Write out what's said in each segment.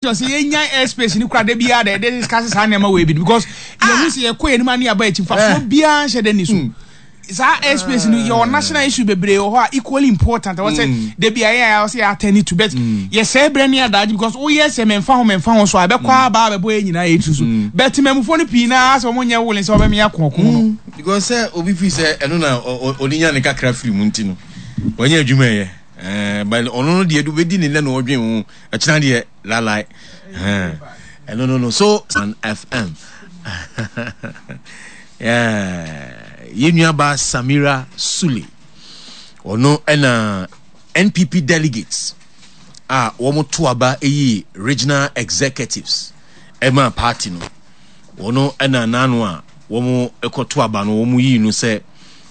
Sɛ yɛnya airspace no kora da biara da yɛde discuss saa nneɛma wei bi because yɛhu sɛ yɛkɔ yɛn anim a ne yɛaba akyi mfasoɔ biara nhyɛ da ni so. Saa airspace no yɛwɔ national issue bebree wɔ hɔ a equally important ɛwɔ sɛ da bi a yɛn a yɛwɔ sɛ yɛ attend to, but yɛsɛe berɛ ne adagye because woyɛ sɛ mɛmfa ho mɛmfa ho so a ɛbɛkɔ aba abɛbɔ yɛn nyinaa yɛn tiri so, but temamufoɔ no pii naa sɛ wɔn nyɛ willing sɛ wɔbɛmea kɔɔko no. Because sɛ obi firi sɛ ɛno na ɔde nya ne kakra firi mu nti no wanya adwuma ɛyɛ, but ɔno no deɛ bɛdi ne nnɛ na ɔdwen ho. Ɛkyena deɛ lalai. Ɛno no no so an FM. Yɛn nuaba Samira Sule. Ɔno ɛna NPP delegates a wɔn to aba yi regional executives ɛma party no. Ɔno ɛna n'ano a wɔn kɔto aba no wɔn yi no sɛ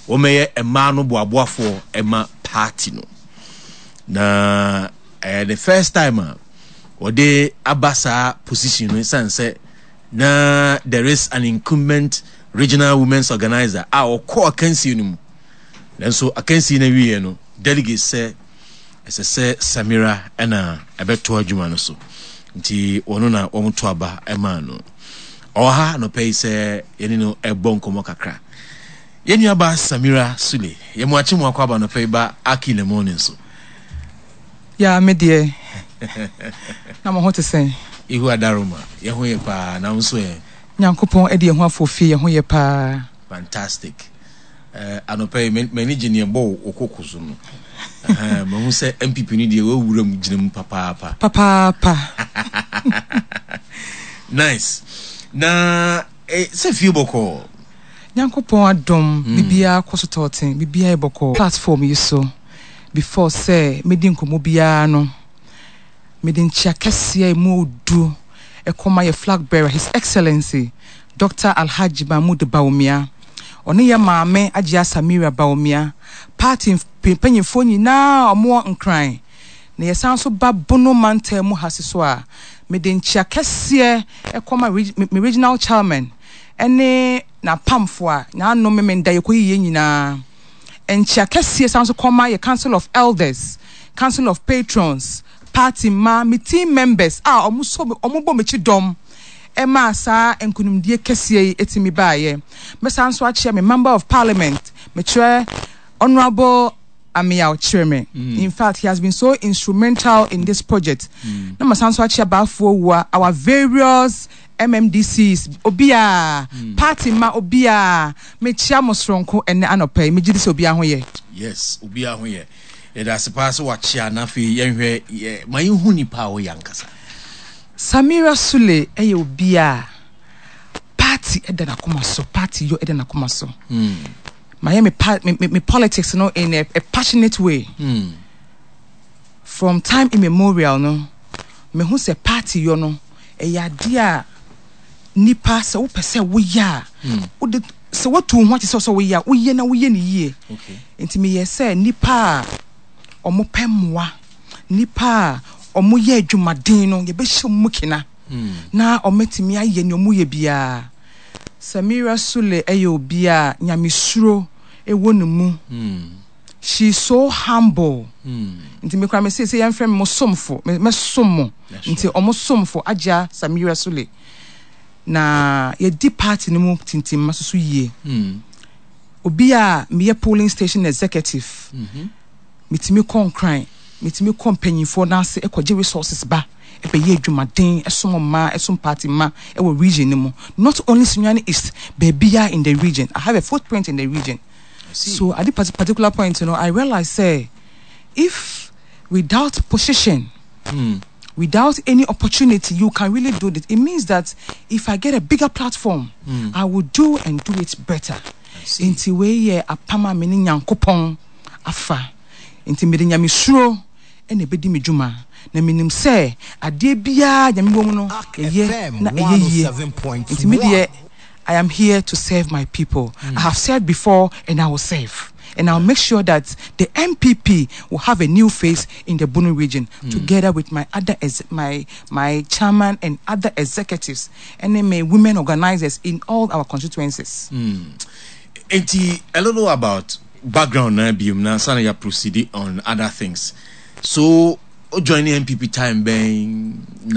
wɔmɛyɛ mmaa no boaboafoɔ ɛma party no. Na Ɛyɛ the first time a wɔde aba saa position no esiane sɛ na there is an incumbent regional women's organizer a ɔkɔ akansie no mu. Nanso akansie no awieɛ no, delegates sɛ ɛsɛ sɛ Samira na ɛbɛtoa adwuma no so. Nti wɔno na wɔto aba maa no. Ɔwɔ ha anɔpa yi sɛ yɛne no ɛbɔ nkɔmmɔ kakra. Yɛn nuabaa Samira Sule, yɛn mu akye mu akɔ aba anɔpa yi ba Aki in the Morning so. Yaa me deɛ, na mo ho te sɛn? Ihu Adaroma, yɛn ho yɛ paa, na wo nso ɛ? Nyankopɔn de yɛn ho afɔ fie, yɛn ho yɛ paa. Fantastic. Eh, anɔpa yi m'ani gye neɛ ɛbɔ wo koko so no. Mahu sɛ MPP no deɛ wawura mu gyina mu papaapa. Papaapa. Nice. Na eh, sɛ fie bɔkɔɔ. Nyankopɔn adom, biribiara kɔ so tɔɔten, biribiara yɛ bɔkɔɔ. Platform yi so, before sɛ mɛdi nkɔmmɔ biara no, mede nkyea kɛseɛ a ɛmu ɔdu kɔma yɛ flag bearer, His Excellency Doctor Alhaji Mahmood Bawumia, ɔne yɛ maame Ajia Samira Bawumia, party mpanyinfoɔ nyinaa a wɔwɔ Nkran, na yɛsan nso ba Bono mantam mu ha so a, mede nkyea kɛseɛ kɔma me regional chairman ne n'apamfo a n'ano Memenda yɛkɔyi yɛn nyinaa. Nkyea kɛseɛ san nso kɔma yɛ Council of Elders, Council of Patrons, party mma, me team members a wɔn so wɔn bɔ m'akyi dɔm maa saa nkunimdie kɛseɛ yi tumi baeɛ. Mɛsan nso akyea me Member of Parliament, mekyerɛ Honourable Ameyaw Kyeremeh. In fact, he has been so instrumental in this project. Na masan nso akyea Baafoɔ Awuah, our various MMDCs, obiara, party mma obiara, mekyia mo soronko ɛnnɛ anɔpa yi, megye di sɛ obiara ho yɛ. Yes, obiara ho yɛ. Yɛda ase paa sɛ wakyea na afei yɛnhwɛ yɛ, ma yɛnhu nipa a woyɛ ankasa. Samira Sule yɛ obi a party da n'akoma so, party yɔ da n'akoma so. Mayɛ me, pa, me, me, me politics no in a passionate way. From time immemorial no, mehu sɛ party yɔ no, ɛyɛ adeɛ a nipa sɛ wopɛ sɛ woyɛ a, wode sɛ woatu wo ho ate sɛ sɛ woyɛ a, woyɛ na woyɛ no yie. Nti meyɛ sɛ nipa a wɔpɛ mmoa, nipa a wɔyɛ adwumaden no, yɛbɛhyɛ wɔn mu kena na wɔatumi ayɛ nea wɔyɛ biara. Samira Sule yɛ obi a nyamesuro wɔ ne mu. She is so humble. Nti me koraa me se sɛ yɛmfrɛ me mo somfo, me mɛsom mo. Nti ɔmo somfo Agya Samira Sule. Na yɛdi party no mu tintimma soso yie. Obi a meyɛ polling station executive, metumi kɔ Nkran, metumi kɔ mpanyinfoɔ no ase kɔgye resources ba bɛyɛ adwumaden som mmaa, som party mma wɔ region no mu. Not only Sunyani East, baabiara in the region. I have a footprint in the region. So at this particular point no, I realize sɛ if without position, without any opportunity, you can really do this. It means that if I get a bigger platform, I will do and do it better. Nti wei yɛ apam a me ne Nyankopɔn afa. Nti mede nyamesuro na ɛbɛdi me dwuma. Na menim sɛ adeɛ biara Nyame wɔ mu no, ɛyɛ na ɛyɛ yie. Nti me deɛ, I am here to serve my people. I have served before and I will serve. And I'll make sure that the NPP will have a new face in the Bono region together with my other my my chairman and other executives and then my women organizers in all our constituencies. Enti a little about background na biom na ansa na yɛ proceed on other things. So, o join the NPP time bɛn?